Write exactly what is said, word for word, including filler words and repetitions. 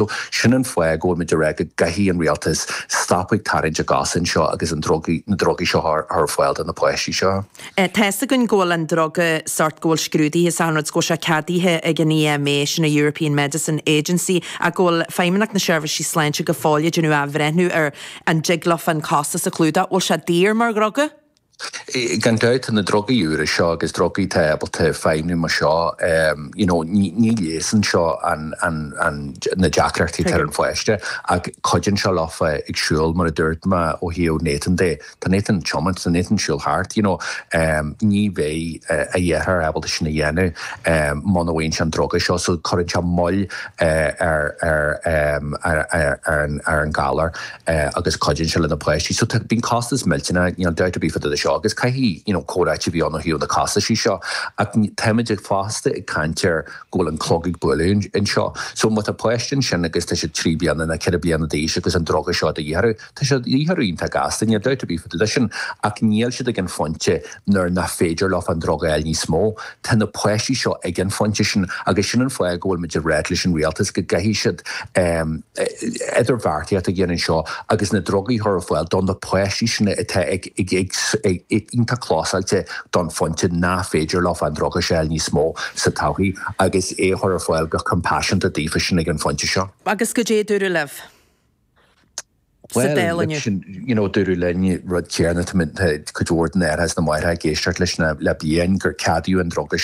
So sin an fáth go bhfuil muid ag rá go gcaithfidh an rialtas stop ag tarraingt a gcos anseo agus an drugaí, na drugaí seo a chur ar fáil do na páistí seo. Tá fhios againn go bhfuil an druga sórt go bhfuil scrúdaithe is achan rud go bhfuil sé ceadaithe ag an EMA, sin an European Medicine Agency, ach go bhfuil Feidhmeannacht na Seirbhísí Sláinte go fóill ag déanamh athbhreithniú ar an dtig leofa an costas a chlúdach. Bhfuil sé daor mar dhruga? Gan dabht tá na drugaí úra seo agus drugaí atá ábalta feidhmiú mar seo, you know, ní ní leigheasann seo an an an na deacrachtaí atá ar an pháiste ach cuidíonn sé leofa ag siúl mar a dúirt mé ó thaobh Nathan de. Tá Nathan tiomáint, tá Nathan siúl thart, you know, ní bheidh a dheartháir ábalta sin a dhéanamh muna bhfaigheann sé an druga seo so cuireann sé moill ar ar ar ar an ar an galar agus cuidíonn sé le na páistí. So tá bíonn costas millteanach, níl dabht ar bith fá dtaobh de seo agus caithfidh you know comhráite a bheith ann ó thaobh na costaisí seo ach táimid ag fosta ag caint ar go bhfuil an clog ag bualadh anseo. So má tá páiste ansin agus tá siad trí bliana nó ceithre bliana d'aois agus an druga seo de dhíth orthu, tá sé de dhíth orthu iontach gasta, níl dabht ar bith fá dtaobh de sin ach níl siad ag an phointe nuair nach féidir leo an druga a fháil níos mó. Tá na páistí seo ag an phointe sin agus sin an fáth go bhfuil muid ag ráit leis an rialtas go gcaithfidh siad idirbheartaíocht a dhéanamh anseo agus na drugaí a chur ar fáil do na páistí sin atá ag ag ag iontach clósáilte don phointe nach féidir leo an druga seo a fháil níos mó sa todhchaí agus é a chur ar fáil go compassionta daofa sin ag an phointe seo. Agus goidé a dúradh libh sa Well, Dáil inniu? sin, you know, dúradh linn rud céanna, tá cuid mhór den aire is na máithreacha ag éisteacht leis na le bliain gur ceadaíodh an druga